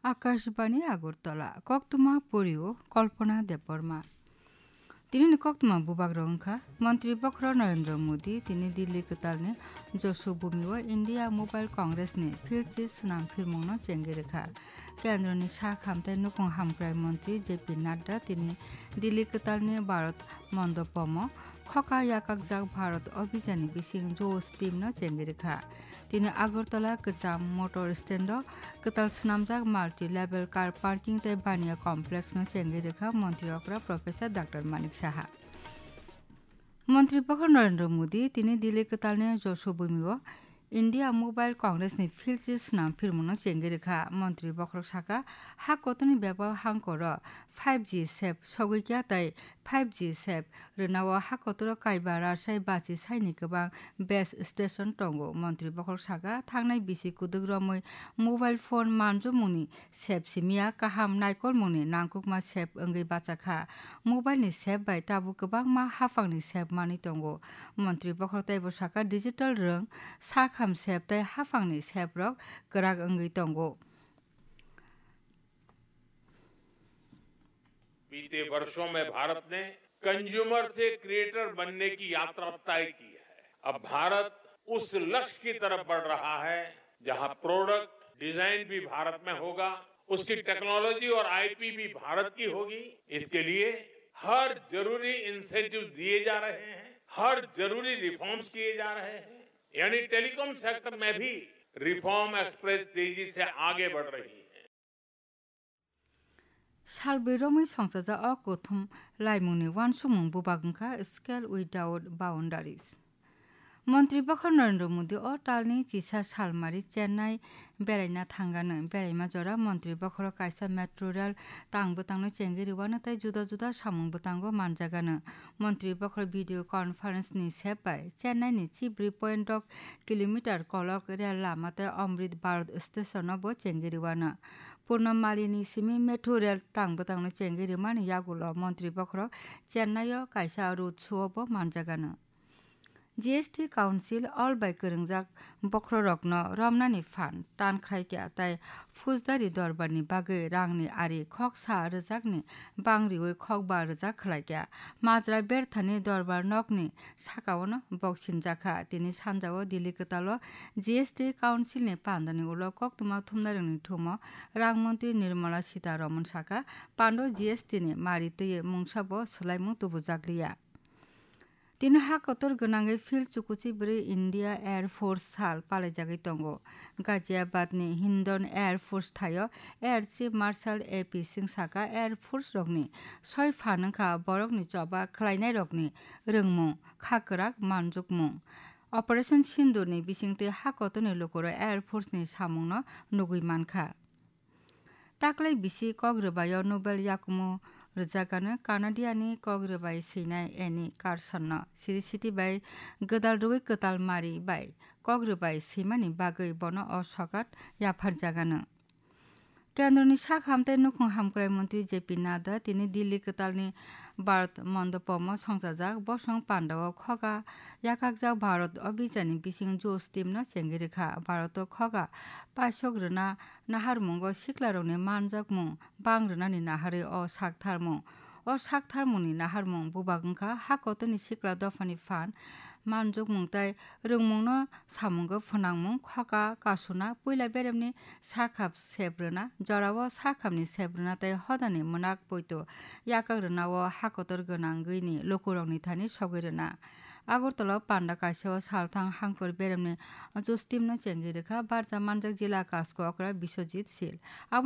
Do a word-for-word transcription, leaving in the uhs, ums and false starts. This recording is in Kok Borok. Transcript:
Akashbani Agartala, koktwma porio Kalpana Debbarma. Tinini koktwma bubagrok wngkha, Montri Bokhorok Narendra Modi tini Delhi kwtalni Josubhumi-o India Mobile Congress-ni philchi swnam phirmungno chengwi rwkha. Kendroni sak hamtai nukhung hamkrai montri J P Nadda tini Delhi kwtalni Bharat Mandapomo khoka yakakjak Bharat Abhijanni bising Josh team-no chengwi rwkha. Tini Agartala kwcham motor stand-o kwtal swnamjak multi-level car parking tei baniya complex-no chengwi rwkha Montri okra Professor Doctor Manik Saha. Montri Bokhorok Narendra Modi tini Delhi kwtalni Josubhumi-o India Mobile Congress-ni philchi swnam phirmungno chengwi rwkha. Montri Bokhorok saka, ha kotorni bebak hangkoro five G sep sogwi kya tei five G sep rwnao ha kotoro kaiba rachai bachi saini kwbang base station tongo. Montri Bokhorok saka, thangnai bisi kwdwk romwi mobile phone manjukmungni sep simiya kaham naikolmungni nangkukma sep wngwi bachakha. Mobile ni sep bai tabuk kwbangma haphangni sep manwi tongo. Montri Bokhorok teibo saka, digital rwng, sakham sep tei haphangni sep rok kwrak wngwi tongo. बीते वर्षों में भारत ने कंज्यूमर से क्रिएटर बनने की यात्रा तय की है। अब भारत उस लक्ष्य की तरफ बढ़ रहा है, जहां प्रोडक्ट डिजाइन भी भारत में होगा, उसकी टेक्नोलॉजी और आईपी भी भारत की होगी। इसके लिए हर जरूरी इंसेंटिव दिए जा रहे हैं, हर जरूरी रिफॉर्म्स किए जा रहे हैं। यानी टेलीकॉम सेक्टर में भी रिफॉर्म एक्सप्रेस तेजी से आगे बढ़ रही है। Salbrwi romwi songchajak o kuthum laimungni uansukmung bubak wngkha Scale Without Boundaries. Montri Bokhorok Narendra Modi o talni chisa salmari Chennai beraina thangano. Beraima jora Montri Bokhorok kaisa metro rail tang bwtangno chengwi rwano tei juda juda samung bwtango manjagano. Montri Bokhorok video conference ni sep bai Chennai ni chibrwi point dok kilometer kolok rail lama tei Amrit Bharat station no bo chengwi rwano. Purno Mali ni simi metro rail tang bwtangno chengwi rwmani yagulo Montri Bokhorok Chennai o kaisa road show o bo manjagano. G S T Council all bai kwrwngjak bokhorokno romnani phan tan khlaikha tei Phusdari dorbarni bagwi rangni ari khoksa rwjakni bang riwi khokba rwjak khlaikha. Majra Berthani dorbar nokni sakaono boksinjakha. Tini sanjao Delhi kwtalo G S T Councilni pandani ulo koktwma thumnairokni thumo rang montri Nirmala Sitharaman saka, pando G S T ni mari twiwi mungsabo swlaimung tubujakliya. Tini ha kotor gwnangwi phil chukuchi bwrwi India Air Force sal palaijagwi tongo. Ghaziabad ni Hindon Air Force thaio Air Chief Marshal A P Singh saka, Air Force rokni soi phan wngkha borokni choba khlainairokni rwngmung, kha kwrak manjukmung. Operation Sindoor ni bisingtwi ha kotorni lukurok Air Force ni samungno nugwi mankha. Taklai bisi kok rwbaio Nobel yakumu rwjakgano Canadiani kok rwbai swinai Annie Carson-no siri siti bai gwdal rwui kwtal mari bai kok rwbai swimani bagwi bono o sokat yapharjagano. Kendroni sak hamtai nukhung hamkrai montri J P Nadda tini Delhi kwtalni Bharat Mandapomo songchajak bosong pandao khoga yakakjak Bharat Abhijanni bising Josh team-no chengwi rwkha. Bharato khoga paisok rwna naharmungo siklarokni manjakmung bang rwnani naharwi o saktharmung. O saktharmungni naharmung bubak wngkha ha kotorni sikla dophani phan, manjukmung tei rwngmungno samungo phwnangmung, khoka kasuna, puila beremni sakhap sep rwna, jorao sakhapni sep rwna tei hodani mwnak poito yakak rwnao ha kotor gwnangwini lukurokni thani sogwi rwna. Agartala o panda kaisao salthang hangkor beremni Josh team-no chengwi rwkha barja manjak jila kasko okra Biswajit Sil. Abo